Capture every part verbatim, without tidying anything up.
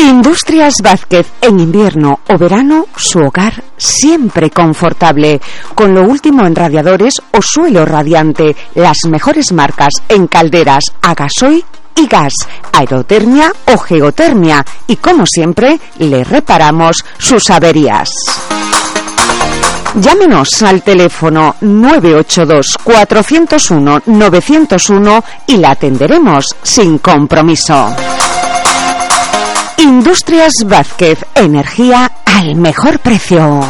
Industrias Vázquez, en invierno o verano, su hogar siempre confortable, con lo último en radiadores o suelo radiante, las mejores marcas en calderas a gasoil y gas, aerotermia o geotermia, y como siempre, le reparamos sus averías. Llámenos al teléfono nueve ocho dos, cuatro cero uno, nueve cero uno y la atenderemos sin compromiso. Industrias Vázquez, energía al mejor precio.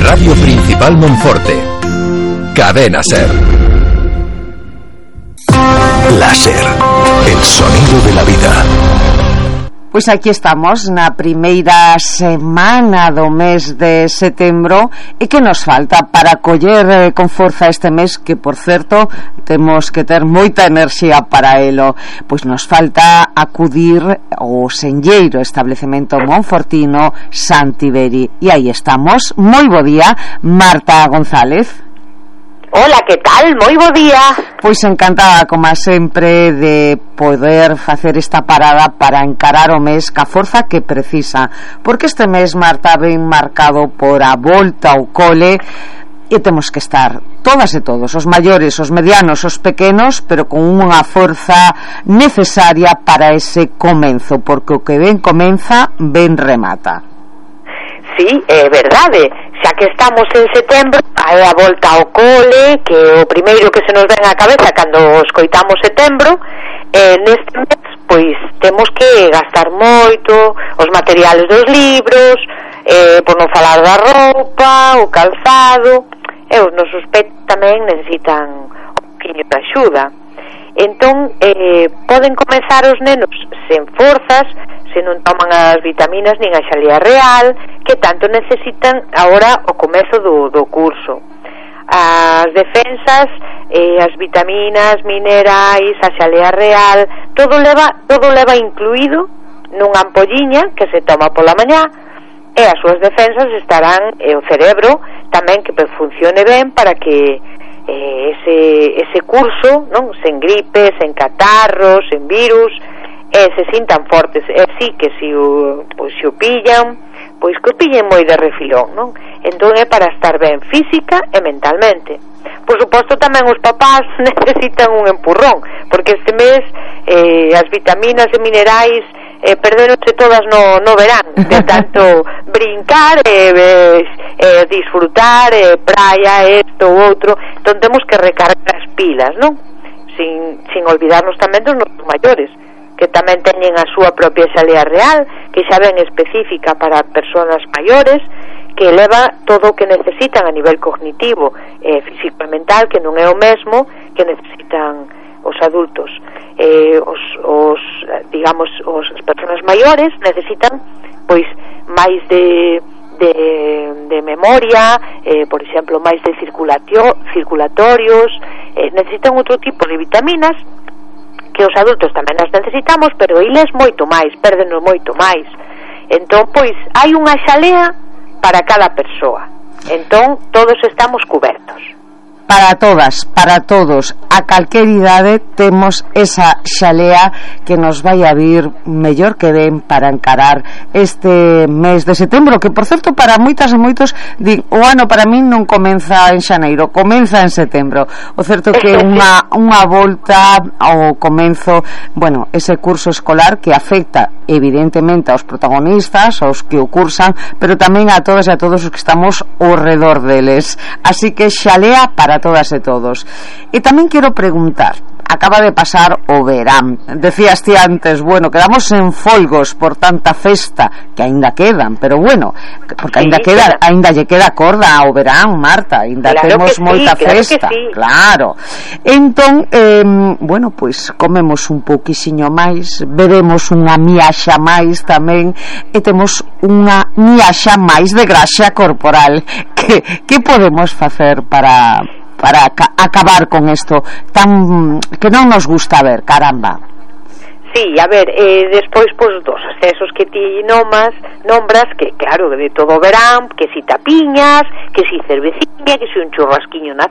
Radio Principal Monforte. Cadena Ser. La Ser, el sonido de la vida. Pois aquí estamos na primeira semana do mes de setembro. E que nos falta para coller eh, con forza este mes, que por certo temos que ter moita enerxía para elo? Pois nos falta acudir ao senlleiro establecemento monfortino Santiberi. E aí estamos. Moi bo día, Marta González. Hola, que tal? Moi bo día. Pois encantada, como sempre, de poder facer esta parada para encarar o mes ca forza que precisa, porque este mes, Marta, ven marcado por a volta ao cole e temos que estar todas e todos, os maiores, os medianos, os pequenos, pero con unha forza necesaria para ese comenzo, porque o que ben comeza, ben remata. Sí, é verdade. Xa que estamos en setembro, hai a volta ao cole, que é o primeiro que se nos ven á cabeza cando escoitamos setembro. E neste mes, pois, temos que gastar moito os materiales dos libros, eh, por non falar da roupa, o calzado, e os nosos pets tamén necesitan un poquinho de axuda. Entón, eh, poden comezar os nenos sen forzas, se non toman as vitaminas nin a xalea real que tanto necesitan agora o comezo do, do curso. As defensas, eh, as vitaminas, minerais, a xalea real, todo leva, todo leva incluído nunha ampolliña que se toma pola mañá, e as súas defensas estarán, e o cerebro tamén que funcione ben para que eh, ese, ese curso, non, sen gripes, sen catarros, sen virus, e se sintan fortes. E sí que se o, pois, se o pillan, pois que o pillen moi de refilón, non? Entón é para estar ben física e mentalmente. Por suposto tamén os papás necesitan un empurrón, porque este mes eh, as vitaminas e minerais eh, perdéronse todas no, no verán, de tanto brincar e eh, eh, disfrutar, eh, praia, esto ou outro. Entón temos que recargar as pilas, non? Sin, sin olvidarnos tamén dos nosos maiores, que tamén teñen a súa propia xalea real, que xa ben específica para persoas maiores, que leva todo o que necesitan a nivel cognitivo, eh, físico e mental, que non é o mesmo que necesitan os adultos. Eh, os, os, digamos, os, as persoas maiores necesitan, pois, máis de, de, de memoria, eh, por exemplo, máis de circulatio, circulatorios, eh, necesitan outro tipo de vitaminas, que os adultos tamén as necesitamos, pero eles moito máis, pérdenos moito máis. Entón, pois, hai unha xalea para cada persoa. Entón, todos estamos cubertos. Para todas, para todos, a calquer idade temos esa xalea que nos vai a vir mellor que ben para encarar este mes de setembro, que por certo para moitas e moitos din, o ano para min non comeza en xaneiro, comeza en setembro. O certo que unha, unha volta ao comenzo, bueno, ese curso escolar que afecta evidentemente aos protagonistas, aos que o cursan, pero tamén a todas e a todos os que estamos ao redor deles. Así que xalea para todas e todos. E tamén quero preguntar, acaba de pasar o verán, decías ti antes, bueno, quedamos en folgos por tanta festa, que aínda quedan, pero bueno, porque aínda sí, queda, claro. aínda lle queda corda ao verán, Marta, aínda claro temos moita sí, festa, claro, sí. claro. Entón, eh, bueno, pois pues, comemos un pouquixiño máis, bebemos unha miaxa máis tamén, e temos unha miaxa máis de graxa corporal. Que, que podemos facer para para ca- acabar con isto tan que non nos gusta ver, caramba? Sí, a ver, eh, despois pois dos excesos que ti nomas, nombras, que claro, de todo verán, que si tapiñas, que si cerveciña, que si un churrasquiño na